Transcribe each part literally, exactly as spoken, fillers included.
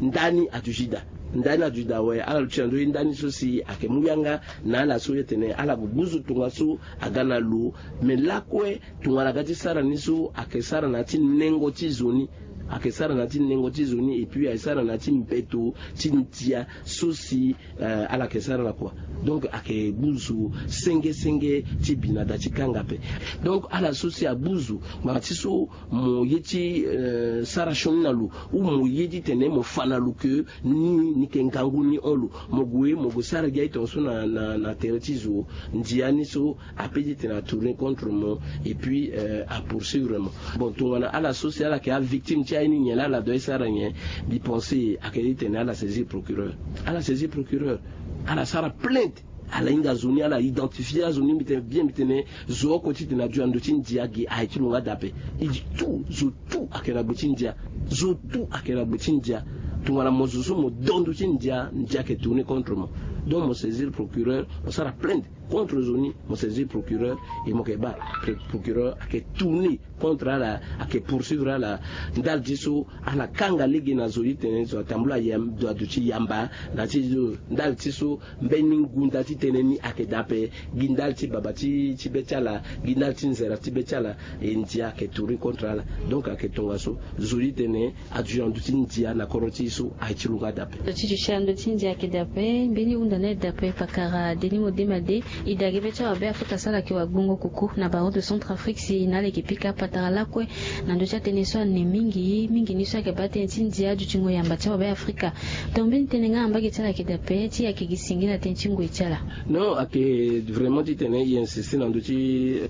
Ndani aduti daa. Ndani aduti daa awe. Ala luti na ndö ye ndani so si ayeke mu yanga na ala so ye tene ala gue gbuzu tongaso aga na lo. Me lakue tongana aga ti sara ni so ayeke sara na ya ti nengo ti zo ni. Ayeke sara na ya ti nengo ti zo ni epui ayeke sara na ya ti mbeto ti ndia so si ala yeke sara na kua. Donc ayeke gbuzu senge senge ti bi na da ti kanga ape. Donc ala so si agbuzu ngbanga ti so mo ye ti sara sioni na lo ou mo ye ti tene mo fa na lo ke ni ni yeke ngangu ni hon lo, mo gue mo gue sara gi aye tongaso na na na tere ti zo. Ndia ni so ape ti tene atourner contre mo epui apoursuivre mo. Bon tongana ala so si ala yeke avictime ti aye ni nyen laa ala doit ti sara nyen? Mbi pense ayeke ti tene ala saisir procureur. Ala saisir procureur. Ala sara plainte. Ala hinga zo ni ala identifier azo ni mbi tene bien mbi tene zo oko ti tene adu na ndö ti ndia gi aye ti lo nga daa ape. E di tout zo tout ayeke na gbe ti ndia. Zo tout ayeke na gbe ti ndia. Tongana mo zo so mo do ndö ti ndia ndia ayeke tourner contre mo. Donc mo saisir procureur mo sara plainte contre zo ni. Mo saisir procureur e mo yeke baa procureur ayeke tourner contre ala ayeke poursuivre ala. Ndali ti so ala kanga lege na zo ti tene zo atambula adu ti yamba na ti zo ndali ti so mbeni ngunda ti tene ni ayeke daa ape. Gi ndali ti baba ti be ti ala gi ndali ti nzera ti be ti ala e ndia ayeke tourner contre ala. Donc ayeke tongaso zo ti tene adu na ndö ti ndia na kodro ti e so aye ti lo nga daa ape. Lo ti duti na ndö ti ndia ayeke daa ape mbeni hunda ni aye daa ape pakara deni modema de. E daa gi be ti awabe afrika so ala yeke wagbongo koko na baro de centre afrique si na ala yeke pika patara lakue na ndö ti atënë so ane mingi mingi ni so ayeke baa tënë ti ndia adutingo yamba ti awabe afrika. Donc mbeni tënë nga na mbage ti ala ayeke daa ape ti ayeke gi singila tënë ti ngoi ti ala? Non ayeke vraiment ti tene e insiste na ndö ti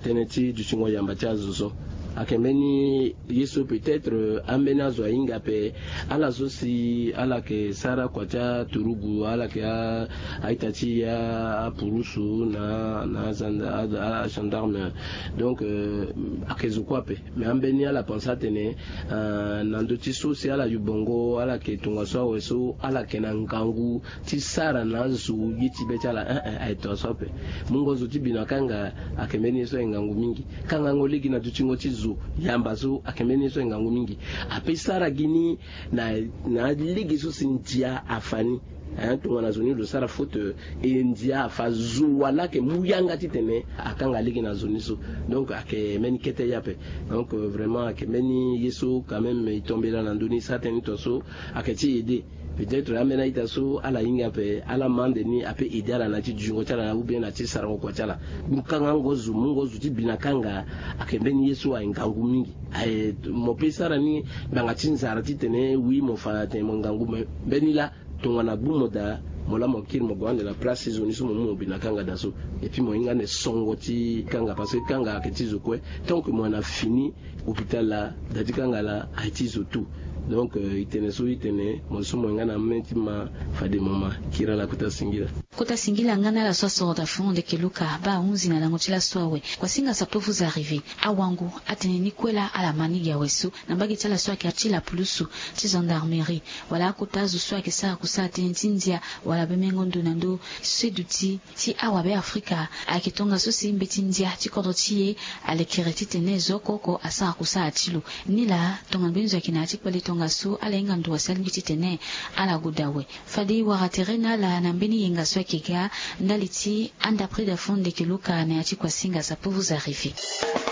tënë ti dutingo yamba ti azo so. Ayeke mbeni ye so peut-être ambeni azo ahinga ape. Ala so si ala yeke sara kua ti aturugu ala yeke a a-ita ti e apurusu na na agendarme. Donc ayeke zo kue ape. Mais ambeni ala pense atene na ndö ti so si ala yubongo ala yeke tongaso awe so ala yeke na ngangu ti sara na azo ye ti be ti ala. Aye tongaso ape. Mungo zo ti bi na kanga ayeke mbeni ye so aye ngangu mingi. Kangango lege na dutingo ti zo yamba so ayeke mbeni ye so aye ngangu mingi. Ape sara gi ni na na lege so si ndia afa ni. Tongana zo ni lo sara faute e ndia afa zo wala ayeke mu yanga titene akanga lege na zo ni so. Donc ayeke mbeni kete ye ape. Donc vraiment ayeke mbeni ye so quand même e tombela na ndö ni sara tënë ni tongaso. Ayeke ti aide peut-être ambeni a-ita so ala hinga ape ala ma ande ni ape aide ala na ya ti dutingo ti ala ou bien na ya ti sarango kua ti ala. Mu kangango zo mungo zo ti bi na kanga ayeke mbeni ye so aye ngangu mingi. Aye mo pe sara ni ngbanga ti nzara titene wi mo fa na tene mo ngangu me mbeni laa tongana gbu mo daa mo laa mo kiri mo gue ande na place ti zo ni so mo mu mo bi na kanga daa so. Epui mo hinga ande songo ti kanga parce que kanga ayeke ti zo kue. Tant que mo yeke na fini hôpital laa daa ti kanga laa aye ti zo tout. Donc e tene so e tene mo so mo hinga na mê ti ma fade mo ma kiri ala kota singila. Kota singila nga na ala so asoro daa fond ndeke luka baa ahunzi na lango ti laso awe. Kuasinga ça peut vous arriver. Awango atene ni kue laa ala ma ni gi awe so na mbage ti ala so ayeke ya ti lapulusu ti gendarmerie wala akota azo so ayeke sara kusala tënë ti ndia wala bemengo ndo na ndö seduti ti awabe afrika. Ayeke tongaso si mbeti ndia ti kodro ti e alekere titene zo oko oko asara kusala ti lo. Nilaa tongana mbeni zo ayeke na ya ti kpale tongaso ala hinga ndo wa si alingbi titene ala gue daa awe. Fade e wara tere na ala na mbeni yenga so ayeke ga ndali ti anda près da fond ndeke luka na ya ti kuasinga ça peut vous arriver.